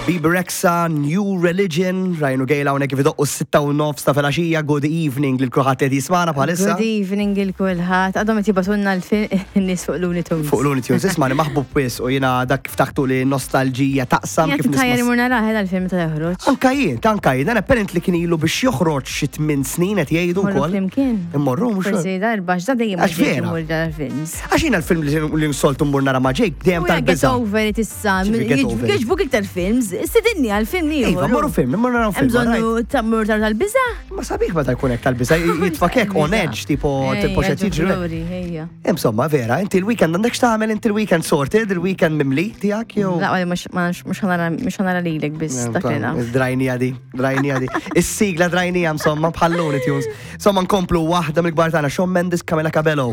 Bebe Rexha, New Religion, Ryan u Gail hawnhekk kif idoqqu s-sitta u nofs ta' filgħaxija, good evening lil kulħadd qed jismagħna bħalissa. Good evening il kulħadd. Għadhom qed jibgħatulna l-nies fuq Looney Tunes. Fuq Looney Tunes, isma' maħbub wis u jiena dak kif taħtu li nostalġija taqsam kif nisma'. Tajja li mur naraħ il-film ta' joħroġ. Anka jien, tanka jien, dan apparently kien ilu biex joħroġ xi tmien snin qed jgħidu wkoll. Flimkien. Immorru mhux. Forsi darba x'da dejjem Għax vera. Għax jiena l-film li nsoltu mmur nara ma' Jake dejjem tal-biża'. Get over it issa, jogħġbuk iktar films, istedinni għal film ieħor. Iva, morru film, morru naraw film. Bżonnu tammur tar tal-biża? Ma sabiħ meta jkun hekk tal-biża, jitfak hekk on edge, tipo tipo xed jiġri. Insomma, vera, inti l-weekend għandek x'tagħmel inti l-weekend sorted, il-weekend mimli tiegħek jew. La, mhux ħanara lilek biss dak li naf. Drajnija di, drajnija di. Is-sigla drajnija insomma bħal Looney Tunes. Insomma nkomplu waħda mill-kbar tagħna Shawn Mendes Camila Cabello.